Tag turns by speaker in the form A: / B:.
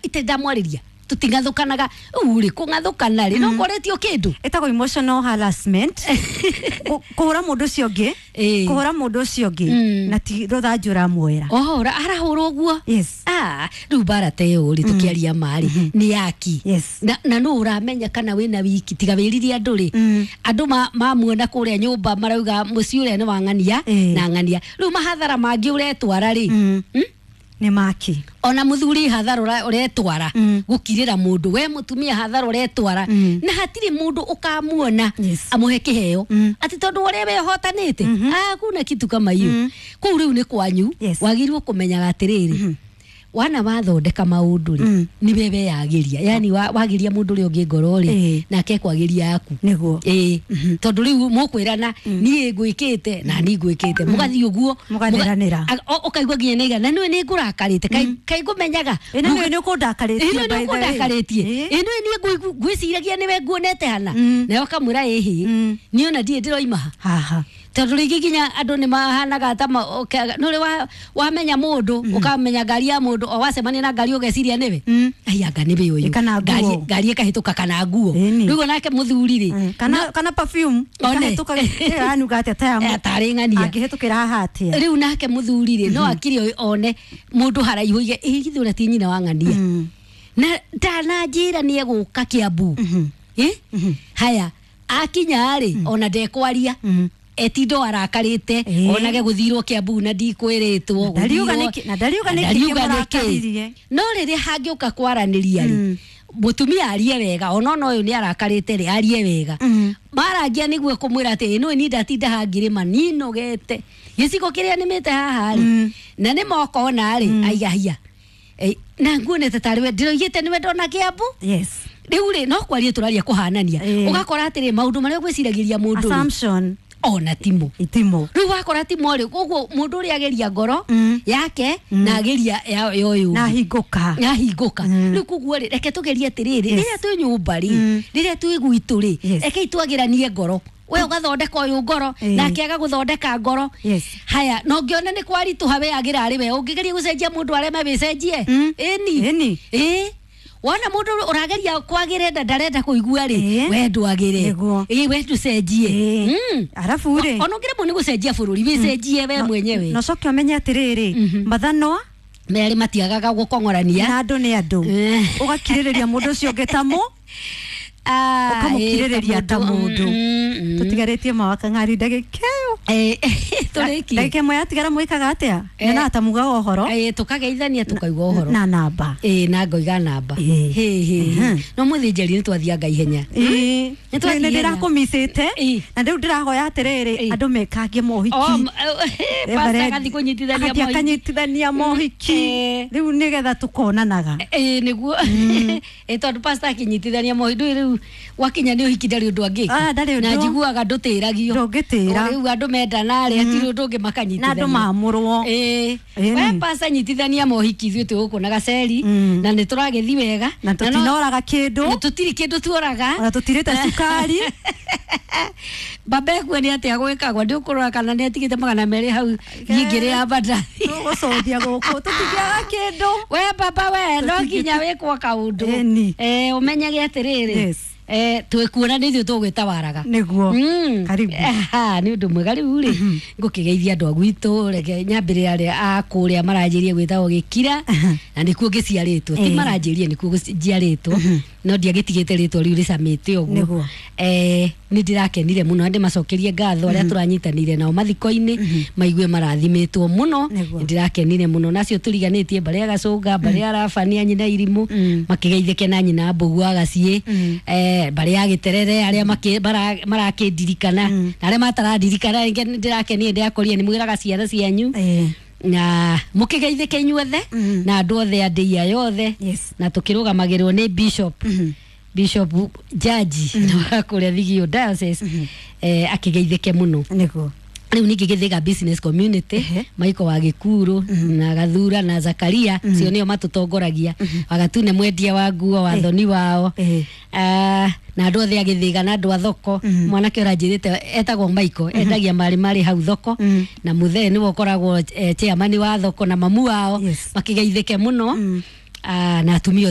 A: Ite ndamwarĩria tũtingathũkanaga rĩu rĩ kũng'athũkana rĩ no koretio kĩndũ.
B: Ĩtagwo emotional harassment. Kũhũra mũndũ ũcio ũngĩ, kũhũra mũndũ ũcio ũngĩ na ti rũthanju ũramuoera.
A: Oho arahũra ũguo.
B: Yes.
A: Ah, rĩu mbara ta ĩyo rĩ tũkĩaria marĩ nĩ yaki. Na nũ ũramenya kana wĩna wiki tiga wĩrire andũ rĩ, andũ mamuona kũrĩa nyũmba marauga mũciĩ ũrĩa nĩ wa ng'ania na ng'ania. Rĩu mahathara mangĩ ũretwara rĩ,
B: Nĩ maki.
A: Ona muthuri hathara ũretwara gũkirĩra mũndũ, we mũtumia hathara ũretwara, na hatirĩ mũndũ ũkamuona amũhe kĩheo atĩ tondũ ũrĩa we ũhotanĩte. Ah, kuna kitu kama hiyo kũu. Rĩu nĩ kwanyu. Wagĩrĩirwo kũmenyaga atĩrĩrĩ, wana wathondeka maũndũ rĩ, nĩ we weyagĩria, yani wagĩria mũndũ ũrĩa ũngĩ ngoro rĩ, nake kwagĩria yaku.
B: Nĩguo.
A: Ĩĩ, tondũ rĩu mũkwĩrana niĩ ngwĩkĩte na niĩ ngwĩkĩte, mũgathiĩ ũguo.
B: Mũgatheranĩra.
A: Ũkaigua nginya nĩ igana na nĩwe nĩ ngũrakarĩte. Kaĩ ngũmenyaga.
B: Ĩ, na nĩwe nĩ ũkũndakarĩtie,
A: Ĩ,
B: by
A: nĩwe
B: the way.
A: ũkũndakarĩtie. Ĩ, nĩwe niĩ ngwĩciragia nĩwe nguonete hana, nawe ũkamwĩra ĩhĩ, niĩ ona ndirĩ ndĩroima ha
B: Haha.
A: Tondũ rĩngĩ nginya andũ nĩ mahanaga ta nĩ ũrĩ wamenya mũndũ, ũkamenya ngari ya mũndũ, o wacemania na ngari ũgeciria nĩwe, ai anga nĩwe ũyũ.
B: Kana nguo.
A: Ngari ĩkahĩtũka kana nguo.
B: Ĩni.
A: Rĩu onake mũthuri rĩ,
B: Kana perfume.
A: One.
B: Ĩkahĩtũka ĩranuga atĩa ta ya
A: tarĩ ng'ania.
B: Angĩhĩtũkĩra haha atĩa?
A: Rĩu nake mũthuri rĩ, no akire one mũndũ haraihu oige ĩ githĩ ũrĩa ti nyina wa ng'ania, na ndananjĩra nĩ egũka Kĩambu. Ĩ, haya akinya rĩ, ona ndekwaria, etindo arakarĩte, onage gũthirwo Kĩambu na ndikwĩrĩtwo.
B: Na ndariuga nĩkĩ- na ndariuga nĩkĩ
A: ndariuga nĩkĩ.
B: kĩmũrakaririe.
A: No rĩrĩa hangĩũka kwaranĩria rĩ, mũtumia arie wega, ona ũyũ nĩ arakarĩte rĩ, arie wega, marangia nĩguo kũmwĩra atĩ ĩno ni ndatinda hangĩrĩma ninogete gĩcigo kĩrĩa nĩmĩte haha rĩ, na nĩ mokona rĩ, aiga hiya. Na nguonete tarĩ we ndĩroigĩte nĩwe ndona Kĩambu. Rĩu rĩ, no kwaria tũraria kũhanania, ũgakora atĩrĩ maũndũ marĩa ũgwĩciragĩria mũndũ rĩ,
B: Assumption.
A: Ona timo.
B: Itimo.
A: Rĩu wakora timo rĩ, koguo mũndũ ũrĩa ageria ngoro yake na ageria ya ũyũ
B: Na hingũka.
A: Yahingũka. Rĩu koguo rĩ, reke tũgerie atĩrĩrĩ, rĩrĩa twĩ nyũmba rĩ, rĩrĩa twĩ gwitũ rĩ, rekei twagĩranie ngoro, we ũgathondeka ũyũ ngoro, nake agagũthondeka ngoro. Haya, na ũngĩona nĩ kwaritũha, we agĩra arĩ we ũngĩgeria gũcenjia mũndũ areme, wĩcenjie. Ĩni.
B: Ĩni.
A: Ĩ, wona mũndũ ũrageria kwagĩre na ndarenda kũigua rĩ, we ndwagĩre.
B: Nĩguo.
A: Ĩ, we ndũcenjie.
B: Arabu rĩ,
A: ona ũngĩremwo nĩ gũcenjia bũrũri, wĩcenjie we mwenyewe.
B: Na ũcoke ũmenye atĩrĩrĩ, mathanwa
A: Merĩ matiagaga gũkong'orania.
B: Na andũ nĩ andũ. Ũgakirĩrĩria mũndũ ũcio ũngĩ ta mũ
A: Ah,
B: ũkamũkirĩrĩria
A: ĩ,
B: ta mũndũ. Tũtigarĩtie mawakang'ari ndagĩka ĩyo.
A: Tũrĩkie.
B: Ndagĩka ĩmwe yatigara, mwĩkaga atĩa? Nyonaga ta mugaga ũhoro.
A: Tũkageithania tũkaigua ũhoro.
B: Na namba.
A: Ĩ, na ngoiga namba. Hĩ hĩ, no mũthĩnjeri nĩ twathianga ihenya. Nĩ twathiĩ
B: Nĩ
A: ihenya.
B: ndĩrakũmicĩte na rĩu ndĩrahoya atĩrĩrĩ, andũ mekangie mohiki.
A: Pastor agathiĩ kũnyitithania
B: Agathiĩ
A: mohiki.
B: akanyitithania mohiki. Rĩu nĩgetha tũkonanaga.
A: Ĩ, nĩguo. Ĩ, tondũ pastor akĩnyitithania mohiki, ndũĩ rĩu gwakinya nĩ ũhiki ndarĩ ũndũ angĩka.
B: Ah, ndarĩ ũndũ.
A: Na njiguaga ndũtĩragio.
B: Ndũngĩtĩra.
A: O rĩu andũ mendana rĩ, hatirĩ ũndũ ũngĩ
B: Na
A: makanyitithania.
B: andũ mamũrwo.
A: Ĩ,
B: Ĩni.
A: we pastor nyitithania mohiki, ithuĩ twĩ gũkũ na gaceri na nĩ tũragĩthi wega.
B: Na tũtinoraga kĩndũ.
A: Na tũtirĩ kĩndũ tuoraga.
B: Ona tũtirĩte cukari.
A: Baba ekuo nĩ atĩa gwĩkagwo, ndĩ ũkũrora kana nĩ atigĩte 200 hau nyingĩrĩ ya bandathi.
B: Tũgũcũthia gũkũ tũtingĩaga kĩndũ.
A: We baba, we no nginya wĩkwo kaũndũ.
B: Ĩni.
A: Ũmenyage atĩrĩrĩ, twĩkuona nĩ ithuĩ tũgwĩtawaraga.
B: Nĩguo. Karibu.
A: Aha, nĩ ũndũ mwega. Rĩu rĩ, ngũkĩgeithia andũ a gwitũ, reke nyambĩrĩre arĩa a kũrĩa maranjĩrie gwĩtagwo Gĩkira, na nĩkuo ngĩciarĩtwo, ti maranjĩrie, nĩkuo njiarĩtwo, no ndiagĩtigĩte rĩtwa rĩu rĩcamĩte ũguo. Nĩ ndĩrakenire mũno na ndĩmacokerie ngatho arĩa tũranyitanĩire nao mathiko-inĩ, maigue marathimĩtwo mũno. Nĩ ndĩrakenire mũno nacio tũriganĩtie mbarĩ ya Gacũnga, mbarĩ ya Rabania, nyina Irimũ, makĩgeithĩke na nyina Mbũgu wa Gaciĩ, mbarĩ ya Gĩterere arĩa marakĩndirikana na arĩa matarandirikana rĩngĩ. Nĩ ndĩrakenire, ndĩrakorire nĩ mwĩraga ciana cianyu na mũkĩgeithĩke inyuothe na andũ othe a ndĩia yothe. Na tũkĩrũgamagĩrwo nĩ bishop Jaji wa kũrĩa Thigio Diocese, akĩgeithĩke mũno. Rĩu ningĩ Gĩthĩga business community, Maiko wa Gĩkuru na Gathura na Zakaria, cio nĩo matũtongoragia, Wagatune mwendia wa nguo, wathoni wao. Ah, na andũ othe a Gĩthĩga na andũ a thoko, mwanake ũranjĩrĩte etagwo Maiko, endagia marĩ marĩ hau thoko, na mũthee nĩwe ũkoragwo chairman wa thoko na mamu wao, makĩgeithĩke mũno. Ah, na atumia othe.